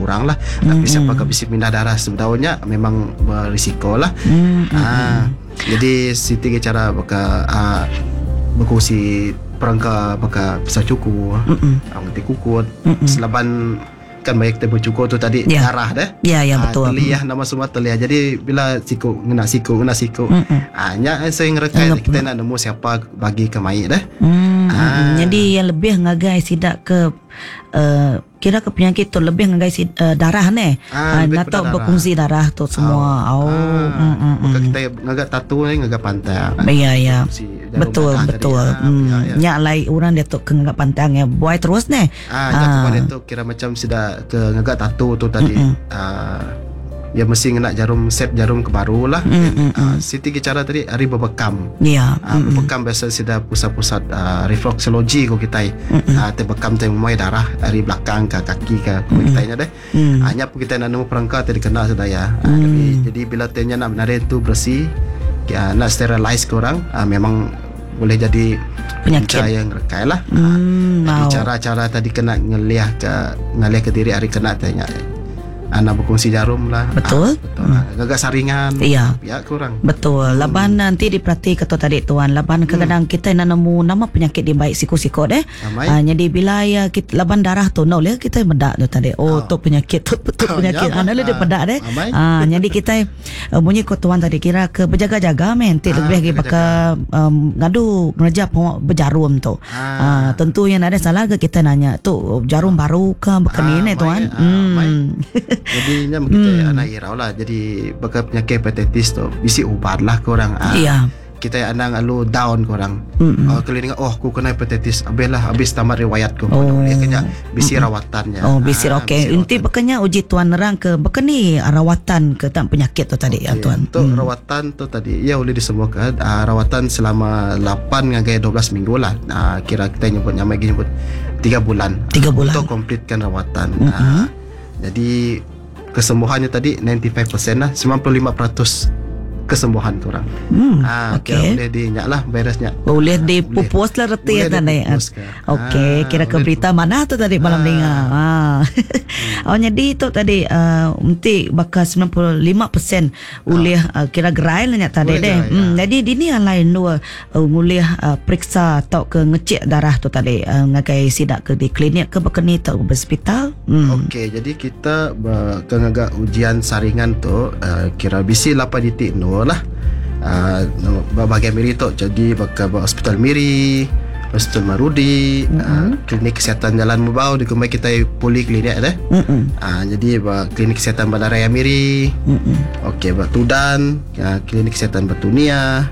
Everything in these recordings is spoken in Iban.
kurang lah. Tapi siapa ke bisi mindah darah sebedau nya memang berisiko lah. Ah, jadi siti ke cara baka ah, bekongsi perengka baka pisau cukur, ah, ngetik kukut, selaban kan maya kita becukur tu tadi Ya. darah deh. Ya, ya, Ah, betul. Teliah nama semua teliah. Jadi bila siku ngena siku ngena siku. Ah nya saya ngerekai kita nak nemu siapa bagi ke mai deh. Ah. Jadi yang lebih ngagai sidak ke kira ke penyakit tu lebih ngagai si, darah ne. Ah, lebih atau kepada darah. berkongsi darah tu semua. Oh. Ah, Mm, Bukan kita ngagak tatu ni ngagak pantang. Ya ya. Si jarum Betul darah tadi. betul. Ah, ya, ya. Nyak lai orang dia tu ke ngagak pantang ya buai terus ne. Ah, ah. kepada tu kira macam sudah ke ngagak tatu tu tadi. Ah, dia mesti ngena jarum set jarum ke baru lah. Ah, siti ke cara tadi hari berbekam. Ya. Ah, berbekam biasa sudah pusat-pusat refleksologi ko kita. Ah, te bekam te memai darah dari belakang ke kaki ke ko kita nya deh. Ah, nya pun kita nak nemu perangkat tadi kena sudah ya. Ah, jadi bila tenya nak menarik tu bersih, ya, nak sterilize ke orang, ah, memang boleh jadi Penyakit. punca yang rekai lah. Ah, jadi cara-cara tadi kena ngeliah ke ngalih ke diri hari kena tanya. Anak berkongsi jarum lah. Betul. Ah, betul lah. Gagak saringan. Iya. Ya kurang. Betul. Laban nanti diperhati kata tadi tuan. Laban kadang-kadang kita nak nemu nama penyakit dia baik siku-siku deh. Amai. Ah, jadi bila ya kita laban darah tu no le kita medak tu tadi. Oh, tu penyakit tu, tu Oh, penyakit. ya, Ah, le dia ah. pedak deh. Amai. Ah, jadi kita bunyi ko tuan tadi kira ke berjaga-jaga men. Nanti Ah, lebih lagi bakal ngadu ngerja pengok berjarum tu. Ah. Ah, tentu yang ada salah ke kita nanya tu jarum baru ke bukan Ah, ni mai, tuan. ah, mai. Jadi nya kita anak irau lah. Jadi bakal penyakit hepatitis tu bisi ubat lah korang. Ah, Ya. Kita anang alu down korang. Oh, kalau dengar oh aku kena hepatitis, habis lah habis tamat riwayat ku. Oh. Dia kena bisi rawatannya. Oh, bisi Ah, okey. bisi Inti bekanya uji tuan nerang ke bekeni rawatan ke tak penyakit tu tadi ya Okey, tuan. Untuk rawatan tu tadi ya boleh disembuhkan rawatan selama 8 hingga 12 minggu lah. Kira kita nyebut nyamai nyebut 3 bulan. Tiga bulan. Untuk komplitkan rawatan. Ah, jadi kesembuhannya tadi 95% lah, 95% kesembuhan korang. Ah, Okey. kira boleh dinyak lah virusnya. Boleh dipupus lah reti Boleh ya tadi. dipupus ke. Okey, Ah, kira ke boleh berita mana tu tadi malam dengar. Ha. Oh jadi tu tadi nanti bakal 95% ulih kira gerai lah nyak tadi Boleh deh. gerai, Jadi dini yang lain dua ngulih periksa atau ke ngecek darah tu tadi ngagai sidak ke di klinik ke bekeni atau ke hospital. Okey, jadi kita ke ngagak ujian saringan tu kira BC 8.0 lah. Bahagian Miri tu jadi bakal ba hospital Miri, Hospital Marudi, klinik kesihatan Jalan Mubau di kemai kita poliklinik deh. Jadi ba klinik kesihatan Bandaraya Miri. Okey, ba Tudan, klinik kesihatan Batunia,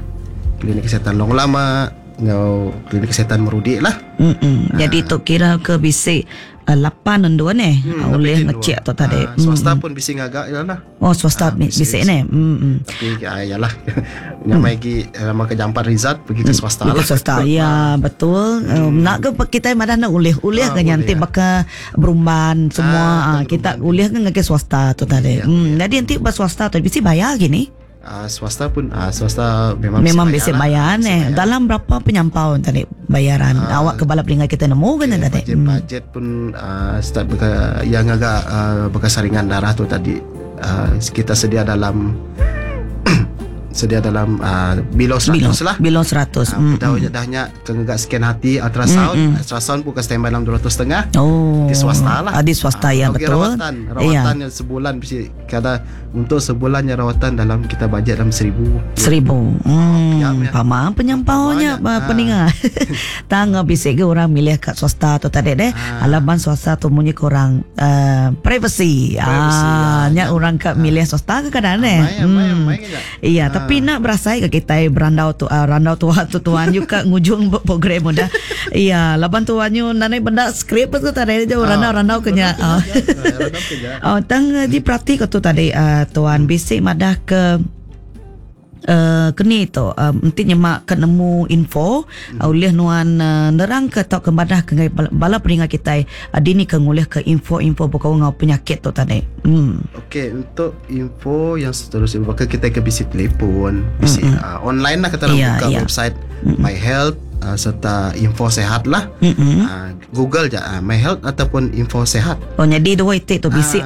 klinik kesihatan Long Lama, ngau klinik kesihatan Marudi lah. Jadi tu kira ke bisik 8 dan 2 ni oleh ngecek tu tadi. Ah, swasta pun bisi ngagak ya lah. Oh swasta bisik, bisik ni. Tapi yalah Nyamai lagi Nama ke Jampat Rizat pergi ke swasta Lah. lah. Swasta. Ya, betul. Nak ke kita madah nak ulih ulih Ah, ke nyanti ulih. bakal berumban semua Ah, kita ulih ke ngake swasta tu tadi. Jadi nanti bas swasta tu bisi bayar gini. Swasta pun swasta memang Memang bisi bisi bayar lah. ni. Dalam berapa penyampau tadi bayaran? Awak ke balap ringan kita nemu kan Okay, tadi. budget, budget pun start beka, yang agak bekas saringan darah tu tadi kita sedia dalam sedia dalam below 100 Below, lah. below 100. Dah dahnya ke ngagak scan hati ultrasound, ultrasound pun ke standby dalam 200 setengah. Oh. Di swasta lah. Ah, di swasta ya okey, betul. Rawatan, rawatan yang sebulan mesti kata untuk sebulannya rawatan dalam kita bajet dalam 1000. 1000. Ya, ya. Pama penyampaunya Banyak. peninga. Tangga bisik ke orang milih kat swasta tu tadi deh. Alaman swasta tu munyi korang privacy. Privacy, Ah, ya. nya orang kat milih swasta ke kadang deh. Main, main, main ke Iya, tapi nak berasai ke kita berandau tu randau tua tu tuan you kat ngujung program udah. Iya, laban tuan you nanai benda skrip tu tadi je randau-randau kenya. Ah. Oh, tang diperhati ke tu tadi tuan bisik madah ke keni tu enti nyemak ke nemu info ulih nuan nerang ke tau ke madah ke ngai bala peninga kita dini ke ngulih ke info-info berkau ngau penyakit tu tadi. Okey, untuk info yang seterusnya bakal kita ke bisi telefon, bisi online lah kata orang Ya, buka ya. website My Health serta info sehat lah. Google je My Health ataupun info sehat. Oh jadi dua itik tu bisik.